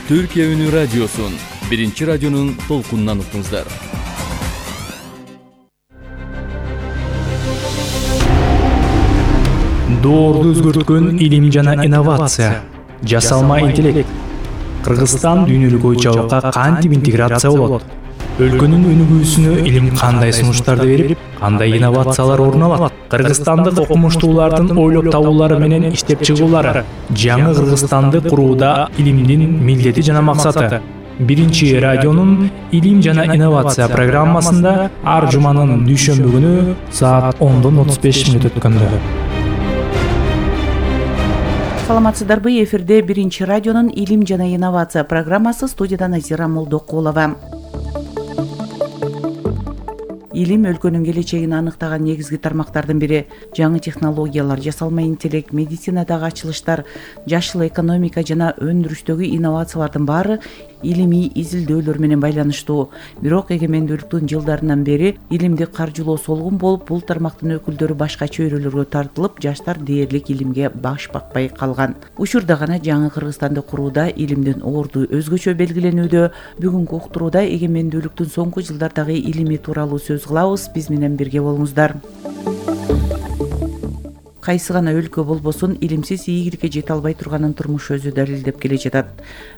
Türkiye Ünü Radyosu'nun birinci radyonun толкунунан уктуңуздар. Доорду өзгөрткөн илим жана инновация, жасалма интеллект. Кыргызстан дүйнөлүк ой-чабакка кантип интеграция болот? Өлкөнүн өнүгүүсүнө илим кандай сунуштарды берип, кандай инновациялар орун алат? Кыргызстандык окумуштуулардын ойлоп табуулары менен иштеп чыгуулары, жаңы Кыргызстанды курууда илимдин милдети жана максаты. Биринчи радионун илим жана инновация программасында ар жуманын дүйшөмбү күнү саат 10:35 өткөндө. Саламатсыздарбы, эфирде биринчи радионун илим жана инновация программасы, студияда Назира Молдокулова. Илим өлкөнүн келечегин аныктаган негизги тармактардын бири. Жаңы технологиялар, жасалма интеллект, медицинадагы ачылыштар, жашыл экономика жана өндүрүштөгү инновациялардын баары илимий изилдөөлөр менен байланыштуу. Бирок эгемендүүлүктүн жылдарынан бери илимди каржылоо солгун болуп, бул тармактын өкүлдөрү башка чөйрөлөргө тартылып, жаштар дээрлик илимге баш бакпай калган. Учурда гана жаңы Кыргызстанды курууда илимдин орду өзгөчө белгиленүүдө. Бүгүнкү уктурууда эгемендүүлүктүн соңку жылдардагы илими тууралуу сөз кылабыз. Биз менен бирге болуңуздар. Кайсы гана өлкө болбосун, илимсиз ийгиликке жете албай турганын турмуш өзү далилдеп келе жатат.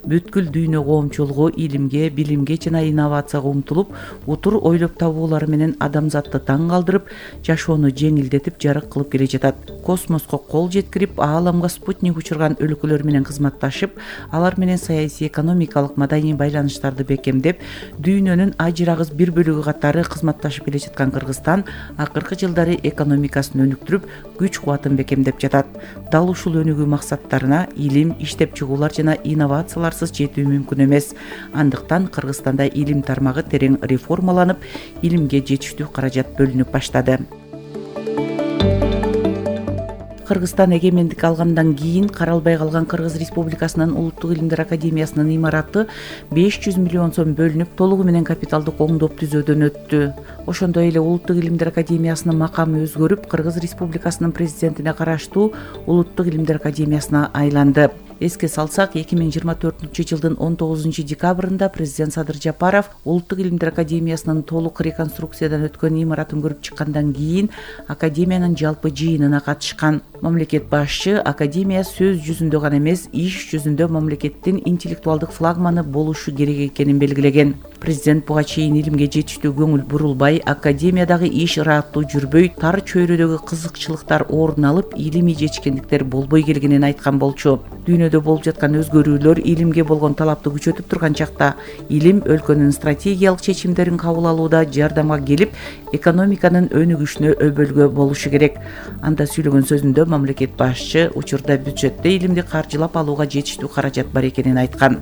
Бүткүл дүйнө коомчулугу илимге, билимге жана инновацияга умтулуп, утур ойлоп табуулары менен адамзатты таң калтырып, жашоону жеңилдетип, жарык кылып келе жатат. Космоско кол жеткирип, ааламга спутник учурган өлкөлөр менен кызматташып, алар менен саясий, экономикалык, маданий байланыштарды бекемдеп, дүйнөнүн ажырагыс бир бөлүгү катары кызматташып келе жаткан Кыргызстан акыркы жылдары экономикасын өнүктүрүп, күч бекемдеп жатат. Дал ушул өнүгүү максаттарына илим, иштеп чыгуулар жана инновацияларсыз жетүү мүмкүн эмес. Андыктан Кыргызстанда илим тармагы терең реформаланып, илимге жетиштүү каражат бөлүнүп баштады. Кыргызстан эгемендик алгандан кийин каралбай калган Кыргыз Республикасынын Улуттук илимдер академиясынын имараты 500 миллион сом бөлүнүп, толугу менен капиталдык оңдоп түзөөдөн өттү. Ошондой эле Улуттук илимдер академиясынын макамы өзгөрүп, Кыргыз Республикасынын президентине караштуу Улуттук илимдер академиясына айланды. Эске салсак, 2024 жылдын 19 декабрында президент Садыр Жапаров Улуттук илимдер академиясынын толук реконструкциядан өткөн имаратын көрүп чыккандан кийин академиянын жалпы жыйынына катышкан. Мамлекет башчы академия сөз жүзүндө гана эмес, иш жүзүндө мамлекеттин интеллектуалдык флагманы болушу керек экенин белгилеген. Президент буга чейин илимге жетиштүү көңүл бурулбай, академиядагы иш ыраттуу жүрбөй, тар чөйрөдөгү кызыкчылыктар орун алып, илимий жетишкендиктер болбой келгенин айткан болчу. Дүйнөдө болуп жаткан өзгөрүүлөр илимге болгон талапты күчөтүп турган чакта, илим өлкөнүн стратегиялык чечимдерин кабыл алууда жардамга келип, экономиканын өнүгүшүнө өбөлгө болушу керек. Анда сүйлөгөн сөзүндө мамлекет башчы учурда бюджетте илимди каржылап алууга жетиштүү каражат бар экенин айткан.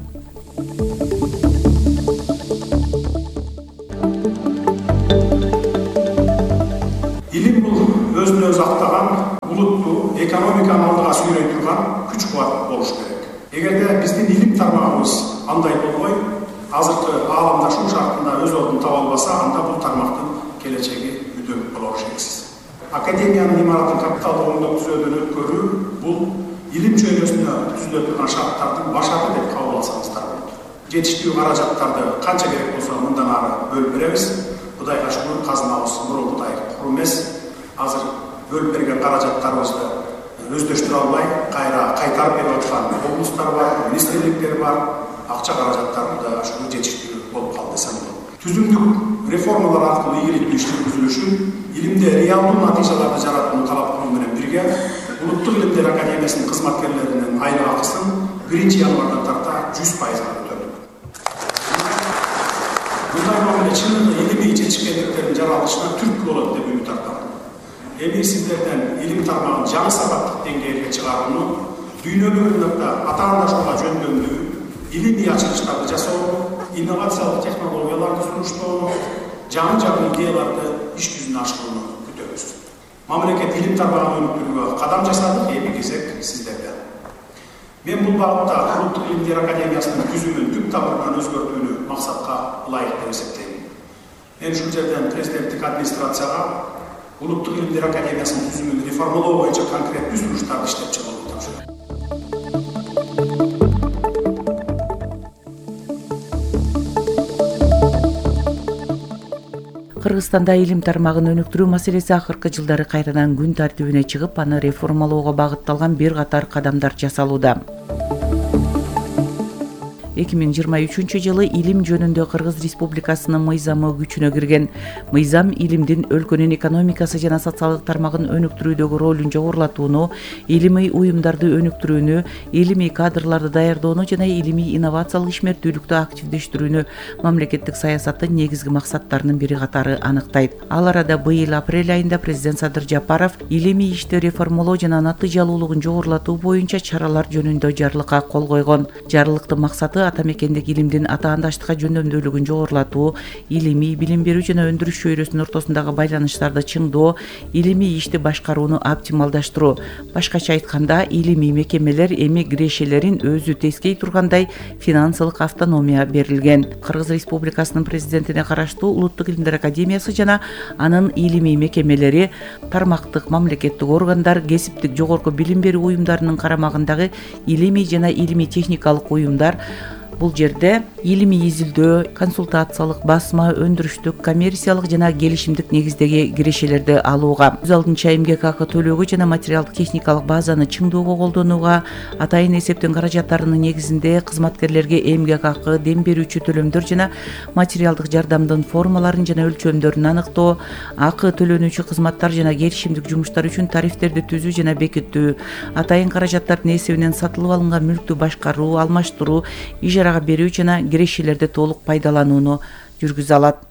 Илим бул өзүн өзү актаган, улутту экономиканы алдыга сүйрөй турган күч кубат болуш керек. Эгерде биздин илим тармагыбыз андай болбой, азыркы ааламдашуу шартында өз ордун таба албаса, анда бул тармактын келечеги үдөп боло беришсиз. Академиянын имаратын капиталдык оңдоп түзөөдөн өткөрүү бул илим чөйрөсүнө түзүлө турган шарттардын башаты деп кабыл алсаңыздар болот. Жетиштүү каражаттарды канча керек болсо мындан ары бөлүп беребиз. Кудайга шүгүр, казынабыз мурункудай куру эмес. Азыр бөлүп берген каражаттарыбызды өздөштүрө албай, кайра кайтарып берип аткан облустар бар, министрликтер бар. Акча каражаттары Кудайга шүгүр жетиштүү болуп калды десем болот. Түзүмдүк реформалар аркылуу ийгиликтүү иш жүргүзүлүш үчүн илимде реалдуу натыйжаларды жаратууну талап кылуу менен бирге Улуттук илимдер академиясынын кызматкерлеринин айлык акысын 1-январдан тарта 100%га көтөрдүк. Мындай мамиле чынында илимий жетишкендиктердин жаралышына түрткү болот деп үмүт артам. Эми сиздерден илим тармагын жаңы сапаттык деңгээлге чыгарууну, дүйнөлүк атаандашууга жөндөмдүү илимий ачылыштарды жасоо, инновациялык технологияларды сунуштоону, жаңы идеяларды иш жүзүнө ашырууну күтөбүз. Мамлекет илим тармагын өнүктүрүүгө кадам жасадык, эми кезек сиздерде. Мен бул багытта Улуттук илимдер академиясынын түзүмүн түп тамырынан өзгөртүүнү максатка ылайык деп эсептейм. Мен ушул жерден президенттик администрацияга Улуттук илимдер академиясынын түзүмүн реформалоо боюнча конкреттүү сунуштарды иштеп чыгууну тапшырдым. Кыргызстанда илим тармагын өнүктүрүү маселеси акыркы жылдары кайрадан күн тартибине чыгып, аны реформалоого багытталган бир катар кадамдар жасалууда. 2023 жылы илим жөнүндө Кыргыз Республикасынын мыйзамы күчүнө кирген. Мыйзам илимдин өлкөнүн экономикасы жана социалдык тармагын өнүктүрүүдөгү ролун жогорулатууну, илимий уюмдарды өнүктүрүүнү, илимий кадрларды даярдоону жана илимий инновациялык ишмердүүлүктү активдештирүүнү мамлекеттик саясаттын негизги максаттарынын бири катары аныктайт. Ал арада быйыл апрель айында президент Садыр Жапаров илимий ишти реформалоо жана натыйжалуулугун жогорулатуу боюнча чаралар жөнүндө жарлыкка кол койгон. Жарлыктын максаты ата мекендик илимдин атаандаштыкка жөндөмдүүлүгүн жогорулатуу, илимий билим берүү жана өндүрүш чөйрөсүнүн ортосундагы байланыштарды чыңдоо, илимий ишти башкарууну оптималдаштыруу. Башкача айтканда, илимий мекемелер эми кирешелерин өзү тескей тургандай финансылык автономия берилген. Кыргыз Республикасынын президентине караштуу Улуттук илимдер академиясы жана анын илимий мекемелери, тармактык мамлекеттик органдар, кесиптик жогорку билим берүү уюмдарынын карамагындагы илимий жана илимий техникалык уюмдар. Бул жерде илимий изилдөө, консультациялык, басма, өндүрүштүк, коммерциялык жана келишимдик негиздеги кирешелерди алууга, өз алдынча эмгек акы төлөөгө жана материалдык техникалык базаны чыңдоого колдонууга, атайын эсептин каражаттарынын негизинде кызматкерлерге эмгек акы, дем берүүчү төлөмдөр жана материалдык жардамдын формаларын жана өлчөмдөрүн аныктоо, акы төлөнүүчү кызматтар жана келишимдик жумуштар үчүн тарифтерди түзүү жана бекитүү, атайын каражаттардын эсебинен сатылып алынган мүлктү башкаруу, алмаштыруу, ижарага берүү жана кирешелерди толук пайдаланууну жүргүзө алат.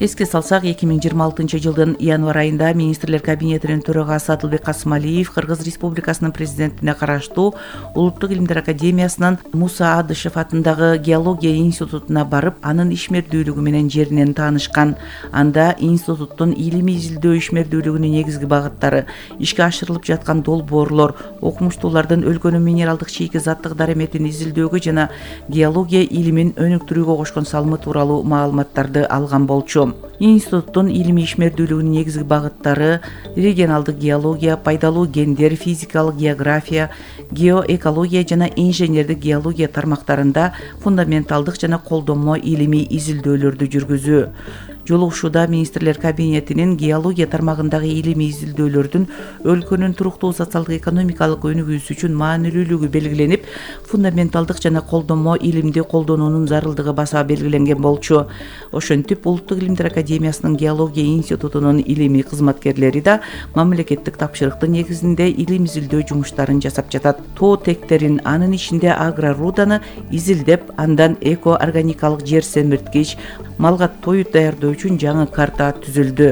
Эске салсак, 2026 жылдын январь айында министрлер кабинетинин төрагасы Адылбек Касымалиев Кыргыз Республикасынын президентине караштуу Улуттук илимдер академиясынын Муса Адышев атындагы геология институтуна барып, анын ишмердүүлүгү менен жеринен таанышкан. Анда институттун илимий изилдөө ишмердүүлүгүнүн негизги багыттары, ишке ашырылып жаткан долбоорлор, окумуштуулардын өлкөнүн минералдык чийки заттык дареметин изилдөөгө жана геология илимин өнүктүрүүгө кошкон салымы тууралуу маалыматтарды алган болчу. Институттун илимий ишмердүүлүгүнүн негизги багыттары регионалдык геология, пайдалуу гендер, физикалык география, геоэкология жана инженердик геология тармактарында фундаменталдык жана колдонмо илимий изилдөөлөрдү жүргүзүү. Жолугушууда министрлер кабинетинин геология тармагындагы илимий изилдөөлөрдүн өлкөнүн туруктуу социалдык экономикалык өнүгүүсү үчүн маанилүүлүгү белгиленип, фундаменталдык жана колдонмо илимди колдонуунун зарылдыгы баса белгиленген болчу. Ошентип, Улуттук илимдер академиясынын геология институтунун илимий кызматкерлери да мамлекеттик тапшырыктын негизинде илим изилдөө жумуштарын жасап жатат. Тоо тектерин, анын ичинде агроруданы изилдеп, андан эко-органикалык жер семирткич, малга тоют даярдоо үчүн жаңы карта түзүлдү.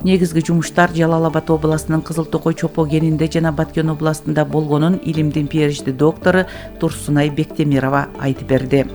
Негизги жумуштар Жалал Абад областынын Кызыл Токой чопо кенинде жана Баткен областында болгонун илимдин PhD доктору Турсунай Бектемирова айтып берди.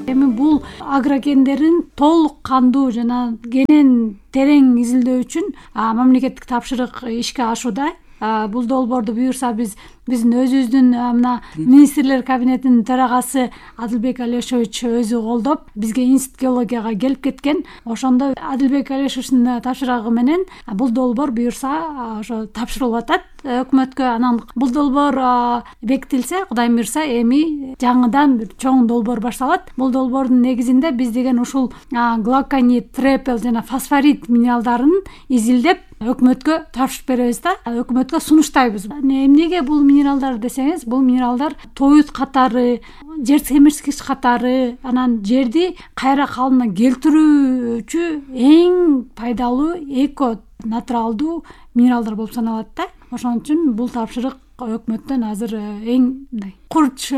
Эми бул агрокендерин толук кандуу жана кенен терең изилдөө үчүн мамлекеттик тапшырык ишке ашууда. Бул долбоорду буюрса биздин өзүбүздүн мына министрлер кабинетинин төрагасы Адылбек Алешович өзү колдоп, бизге институт геологияга келип кеткен. Ошондо Адылбек Алешовичтин тапшырыгы менен бул долбоор буюрса ошо тапшырылып атат өкмөткө. Анан бул долбоор бекитилсе, Кудайым буюрса, эми жаңыдан бир чоң долбоор башталат. Бул долбоордун негизинде биз деген ушул глоконит, трепел жана фосфорит минералдарын изилдеп өкмөткө тапшырып беребиз да, өкмөткө сунуштайбыз. Эмнеге бул минералдар десеңиз, бул минералдар тоют катары, жер семирткич катары, анан жерди кайра калыбына келтирүүчү эң пайдалуу эко натуралдуу минералдар болуп саналат да. Ошон үчүн бул тапшырык өкмөттөн азыр эң мындай курч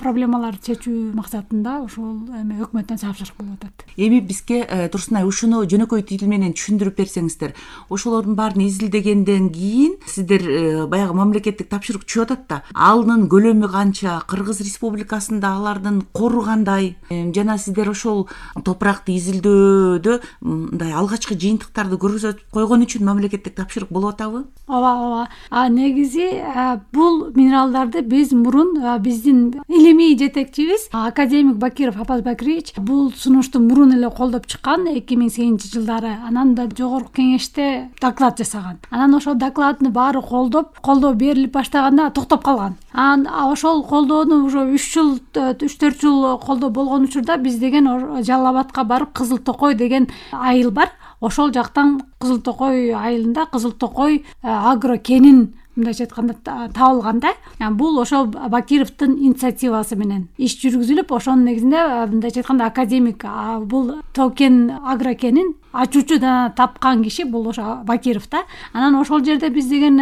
проблемаларды чечүү максатында ошол эми өкмөттөн тапшырык болуп атат. Эми бизге Турсунай ушуну жөнөкөй тил менен түшүндүрүп берсеңиздер. Ошолордун баарын изилдегенден кийин сиздер баягы мамлекеттик тапшырык түшүп атат да, алынын көлөмү канча, Кыргыз Республикасында алардын кору кандай, жана сиздер ошол топуракты изилдөөдө мындай алгачкы жыйынтыктарды көрсөтүп койгон үчүн мамлекеттик тапшырык болуп атабы? Ооба. Негизи бул минералдарды биз мурун биздин илимий жетекчибиз академик Бакиров Апаз Бакирович бул сунушту мурун эле колдоп чыккан 2008 жылдары. Анан да жогорку кеңеште доклад жасаган. Анан ошол докладын баары колдоо берилип баштаганда токтоп калган. Ошол колдоону уже 3-4 жыл колдоо болгон учурда биз деген Жалал Абадка барып Кызыл Токой деген айыл бар. Ошол жактан Кызыл Токой айылында Кызыл Токой агро кенин мындайча айтканда табылганда, бул ошол Бакировдун инициативасы менен иш жүргүзүлүп, ошонун негизинде мындайча айтканда академик бул токен агрокенин ачуучу да тапкан киши бул ошо Бакиров да. Анан ошол жерде биз деген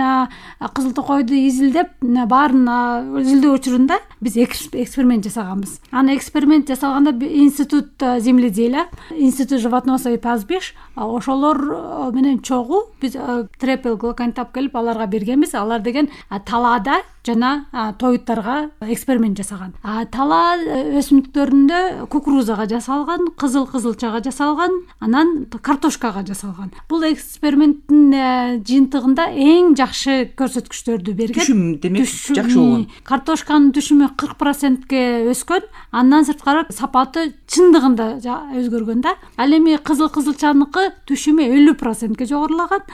Кызыл Токойду изилдеп, баарын изилдөө учурунда биз эксперимент жасаганбыз. Эксперимент жасалганда институт земледелия, институт животноводства и пастбищ ошолор менен чогуу биз трепел глоконит алып келип аларга бергенбиз. Алар деген талаада жана тоюттарга эксперимент жасаган. Тала өсүмдүктөрүндө кукурузага жасалган, кызылчага жасалган, анан картошкага жасалган. Бул эксперименттин жыйынтыгында эң жакшы көрсөткүчтөрдү берген. Түшүм демек жакшы болгон. Картошканын түшүмү 40%ке өскөн, андан сырткары сапаты чындыгында өзгөргөн да. Ал эми кызылчаныкы түшүмү 50%ке жогорулаган,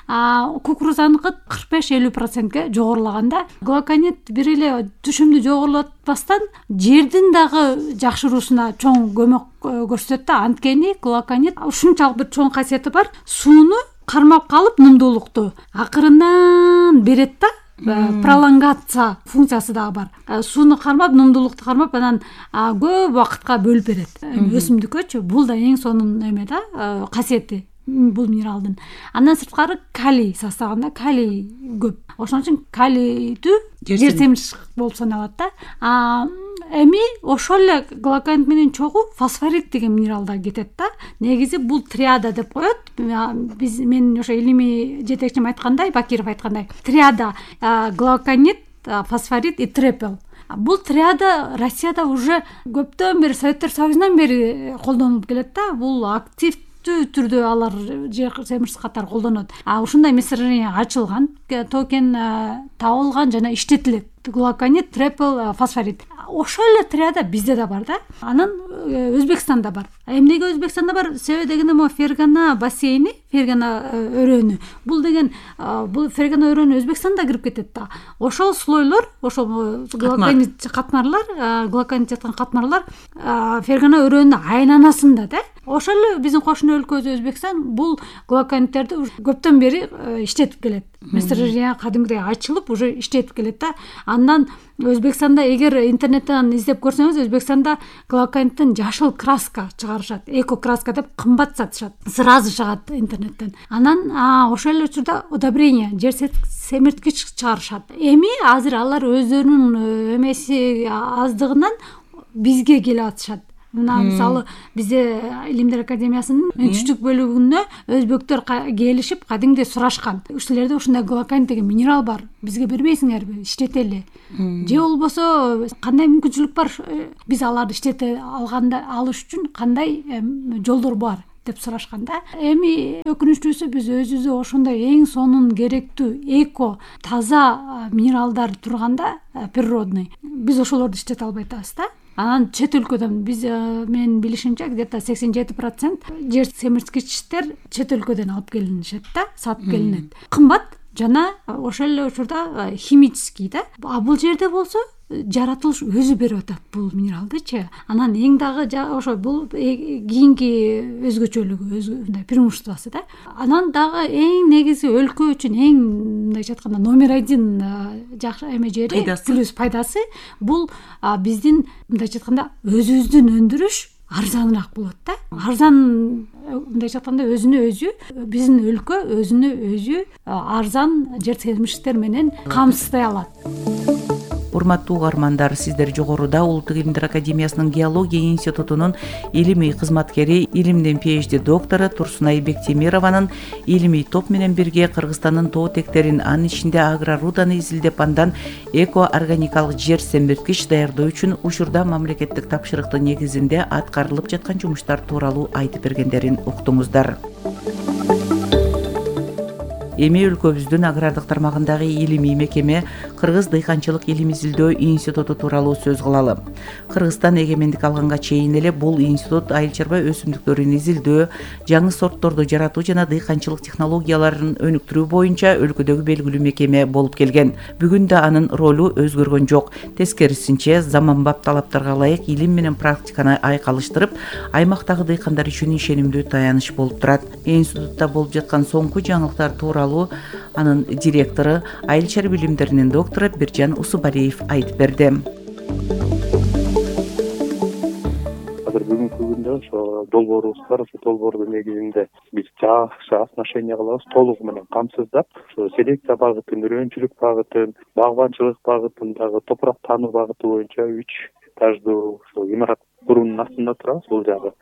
кукурузаныкы 45-50%ке жогорулаган да. Глоконит бир эле түшүмдү жогорулатпастан жердин дагы жакшыруусуна чоң көмөк көрсөтөт да. Анткени глоконит ушунчалык бир чоң касиети бар. Сууну кармап калып нымдуулукту акырындан берет да. Пролонгация функциясы дагы бар. Сууну кармап, нымдуулукту кармап, анан көп убакытка бөлүп берет өсүмдүккөчү. Бул да эң сонун эме да, касиети бул минералдын. Андан сырткары калий составында калий көп. Ошон үчүн калийдүү жер семирчү болуп саналат да. Эми ошол эле глоконит менен чогуу фосфорит деген минерал да кетет да. Негизи бул триада деп коет. Мен ошо илимий жетекчим айткандай, Бакиров айткандай, триада глоконит, фосфорит и трепел. Бул триада Россияда уже көптөн бери, Советтер Союзунан бери колдонулуп келет да. Бул активдүү түрдө алар жер семирчү катары колдонот. Ушундай месторождение ачылган, токен табылган жана иштетилет. Глоконит, трепел, фосфорит. Ошол эле триада бизде да бар да. Анан Өзбекстанда бар. Эмнеге Өзбекстанда бар? Себеби дегенде могу Фергана бассейни, Фергана өрөөнү. Бул деген бул Фергана өрөөнү Өзбекстанда кирип кетет да. Ошол слойлор, ошол глоконит катмарлар, глоконит жаткан катмарлар Фергана өрөөнүнүн айланасында да. Ошол эле биздин кошуна өлкөбүз Өзбекстан бул глокониттерди көптөн бери иштетип келет. Месторождение кадимгидей ачылып, уже иштетип келет да. Андан Өзбекстанда эгер интернеттен издеп көрсөңүз, Өзбекстанда глокониттен жашыл краска чыгарышат. Эко краска деп кымбат сатышат. Сразу чыгат интернеттен. Анан ошол эле учурда удобрение, жер семирткич чыгарышат. Эми азыр алар өздөрүнүн эмеси аздыгынан бизге келип атышат. Мына мисалы бизде Илимдер академиясынын үнчүчтүк бөлүгүнө өзбектер келишип кадимде сурашкан. Ушулерде ушундай глоконит деген минерал бар. Бизге бербейсиңерби? Иштетели. Же болбосо кандай мүмкүнчүлүк бар? Биз аларды иштете алыш үчүн кандай жолдор бар деп сурашканда. Эми өкүнүчтүүсү биз өзүбүздө ошондой эң сонун керектүү эко таза минералдар турганда природный биз ошолорду иштете албай атабыз да. Анан чет өлкөдөн биз менин билишимче где-то 87% жер семирткичтер чет өлкөдөн алып келинишет да, сатып келинет. Кымбат жана ошол эле учурда химический да. Бул жерде болсо жаратылыш өзү берип атат бул минералдычы. Анан эң дагы ошо бул кийинки өзгөчөлүгү, мындай преимуществосу да. Анан дагы эң негизи өлкө үчүн эң мындайча айтканда номер 1 жакшы эме жери плюс пайдасы бул биздин мындайча айтканда өзүбүздүн өндүрүш арзаныраак болот да. Арзан мындайча айтканда өзүнө өзү биздин өлкө өзүнө өзү арзан жер семирчиктер менен камсыздай алат. Урматтуу угармандар, сиздер жогоруда Улуттук Илимдер академиясынын геология институтунун илимий кызматкери, илимдин PhD доктору Турсунай Бектемированын илимий топ менен бирге Кыргызстандын тоо тектерин, анын ичинде агроруданы изилдеп, андан эко органикалык жер семирткич даярдоо үчүн учурда мамлекеттик тапшырыктын негизинде аткарылып жаткан жумуштар тууралуу айтып бергендерин уктуңуздар. Эми өлкөбүздүн агрардык тармагындагы илимий мекеме Кыргыз дыйканчылык илим изилдөө институту тууралуу сөз кылалы. Кыргызстан эгемендик алганга чейин эле бул институт айыл чарба өсүмдүктөрүн изилдөө, жаңы сортторду жаратуу жана дыйканчылык технологияларын өнүктүрүү боюнча өлкөдөгү белгилүү мекеме болуп келген. Бүгүн да анын ролу өзгөргөн жок. Тескерисинче, заманбап талаптарга ылайык илим менен практиканы айкалыштырып, аймактагы дыйкандар үчүн ишенимдүү таяныч болуп турат. Институтта болуп жаткан соңку жаңылыктар тууралуу анын директору, айыл чарба билимдеринин доктору Биржан Усубалиев айтып берди. Азыр бүгүнкү күндө ошо долбоорубуз бар. Ошо долбоордун негизинде биз жакшы отношение кылабыз, толугу менен камсыздап, ошо селекция багытын, үрөөнчүлүк багытын, багбанчылык багытын, дагы топурак таануу багыты боюнча 3 этаждуу ошо имарат куруунун астында турабыз. Бул жагы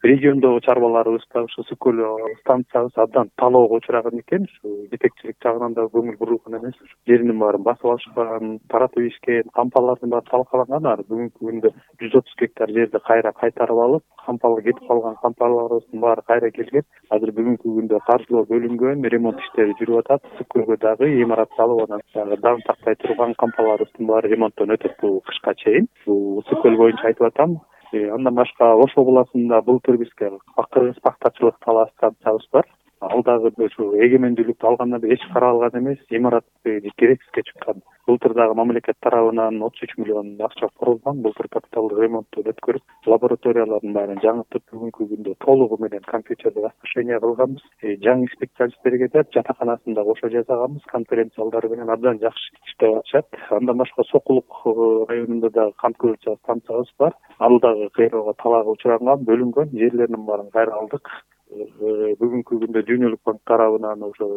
региондогу чарбаларыбыз да ушу Сүкөл станциябыз абдан талоого учураган экен. Ушу жетекчилик жагынан да көңүл бурулган эмес. Жеринин баарын басып алышкан, таратып ийишкен, кампалардын баары талкаланган. Бүгүнкү күндө 130 гектар жерди кайра кайтарып алып, кампалы кетип калган кампаларыбыздын баары кайра келген. Азыр бүгүнкү күндө каржылоо бөлүнгөн, ремонт иштери жүрүп атат. Сүкөлгө дагы имарат салып, анан даң тактай турган кампаларыбыздын баары ремонттон өтөт бул кышка чейин. Бул Сүкөл боюнча айтып атам. Андан башка Ош областында былтыр бизге кыргыз пактачылык талаа станциябыз бар. Ал дагы ушу эгемендүүлүктү алгандан бери эч каралган эмес, имарат керексизге чыккан. Былтыр дагы мамлекет тарабынан 33 миллион акча курулган. Былтыр капиталдык ремонтту өткөрүп, лабораториялардын баарын жаңыртып, бүгүнкү күндө толугу менен компьютердик оснащение кылганбыз. Жаңы специалисттерге да жатаканасында кошо жасаганбыз, конференция залдары менен абдан жакшы иштеп атышат. Андан башка Сокулук районунда да кант көбүрчө станциябыз бар. Ал дагы кыйроого талаага учураган, бөлүнгөн, жерлеринин баарын кайра алдык. Бүгүнкү күндө Дүйнөлүк банк тарабынан ошо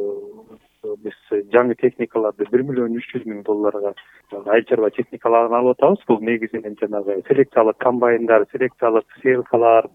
биз жаңы техникаларды $1,300,000 айыл чарба техникаларын алып атабыз. Бул негизинен жанагы селекциялык комбайндар, селекциялык сеялкалар,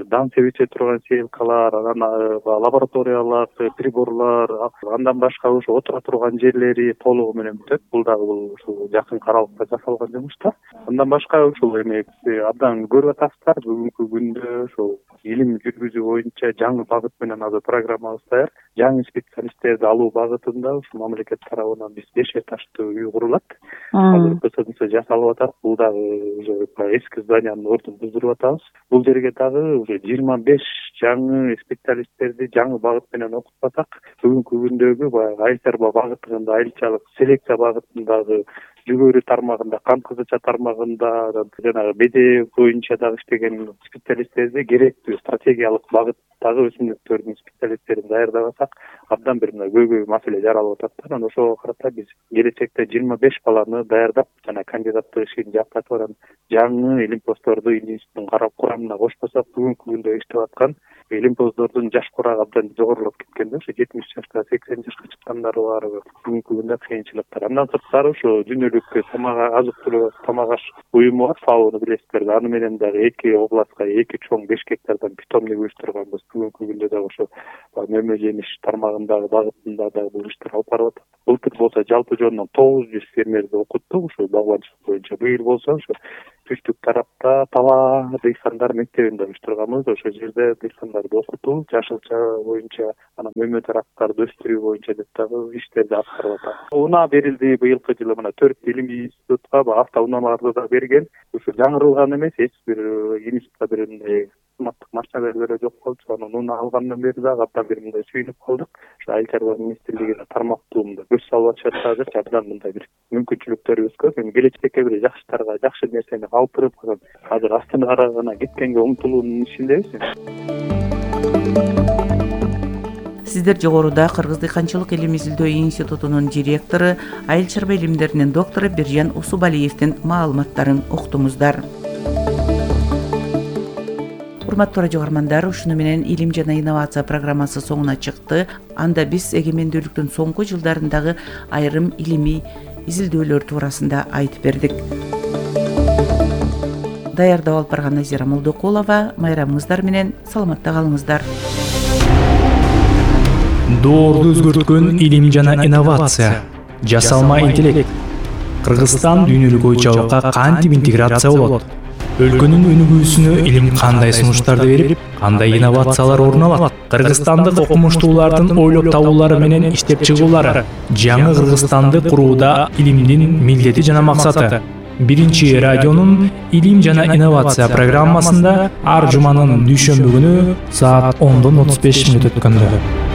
дан себече турган сеялкалар, анан лабораториялык приборлар, андан башка ошо отура турган жерлери толугу менен бүтөт. Бул дагы ушул жакын каралыкта жасалган жумуштар. Андан башка ушул эме абдан көрүп атасыздар. Бүгүнкү күндө ошол илим жүргүзүү боюнча жаңы багыт менен азыр программабыз даяр. Жаңы специалисттерди алуу багытында ушул мамлекет тарабынан биз 5 этаждуу үй курулат. Азыр КСДС жасалып атат. Бул дагы уже эски зданиянын ордун буздуруп атабыз. Бул жерге дагы уже 25 жаңы специалисттерди жаңы багыт менен окутпасак, бүгүнкү күндөгү баягы айыл чарба багытында, айылчалык селекция багытындагы жүгөрү тармагында, кант кызыча тармагында, жанагы беде боюнча дагы иштеген специалисттерди керектүү стратегиялык багыттагы өсүмдүктөрдүн специалисттерин даярдабасак, абдан бир көйгөй маселе жаралып атат. Анан ошого карата биз келечекте 25 баланы даярдап, жана кандидаттык ишин жактатып, анан жаңы илимпоздорду институттун курамына кошпосок, бүгүнкү күндө иштеп аткан илимпоздордун жаш курагы абдан жогорулуп кеткенде, ошо 70 жашка, 80 жашка чыккандары бар. Бүгүнкү күндө кыйынчылыктар. Андан сырткары ошо Дүйнөлүк азык-түлүк тамак аш уюму бар, ФАОну билесиздер. Аны менен дагы 2 областка 2 чоң 5 гектардан питомник уюштурганбыз. Бүгүнкү күндө дагы ошо мөмө жемиш тармагындагы багытында дагы бул иштер алып барып атат. Былтыр болсо жалпы жонунан 900 фермерди окуттук ошо багбанчылык боюнча. Быйыл болсо ошо түштүк тарапта Тала дыйкандар мектебинде уюштурганбыз. Ошол жерде дыйкандарды окутуу, жашылча боюнча, анан мөмө тараптарды өстүрүү боюнча деп дагы иштерди аткарып атат. Унаа берилди быйылкы жылы, мына 4 илимий институтка автоунааларды да берген. Ошо жаңырылган эмес, эч бир институтка бир кызматтык машиналар жок болчу. Анан унаа алгандан бери дагы абдан бир мындай сүйүнүп калдык. Ошо айыл чарба министрлигине тармактуумда көз салып атышат. Азырчы абдан мындай бир мүмкүнчүлүктөрүбүз көп. Эми келечекке бир жаштарга жакшы нерсени калтырып, азыр Астанага гана кеткенге умтулуунун ишиндебиз. Сиздер жогоруда Кыргыз дыйканчылык илим изилдөө институтунун директору, айыл чарба илимдеринин доктору Биржан Усубалиевдин маалыматтарын уктуңуздар. Урматтуу радио көрөрмандар, ушуну менен илим жана инновация программасы соңуна чыкты. Анда биз эгемендүүлүктүн соңку жылдарындагы айрым илимий изилдөөлөр туурасында айтып бердик. Даярдап алып барган Назира Молдокулова, майрамыңыздар менен саламатта калыңыздар. Доорду өзгөрткөн илим жана инновация, жасалма интеллект. Кыргызстан дүйнөлүк ой чабакка кантип интеграция болот? өлкөнүн өнүгүүсүнө илим кандай сунуштарды берип, кандай инновациялар орун алат, кыргызстандык окумуштуулардын ойлоп табуулары менен иштеп чыгуулары, жаңы Кыргызстанды курууда илимдин милдети жана максаты. Биринчи радионун илим жана инновация программасында ар жуманын дүйшөмбү күнү саат 10:35 өткөндө.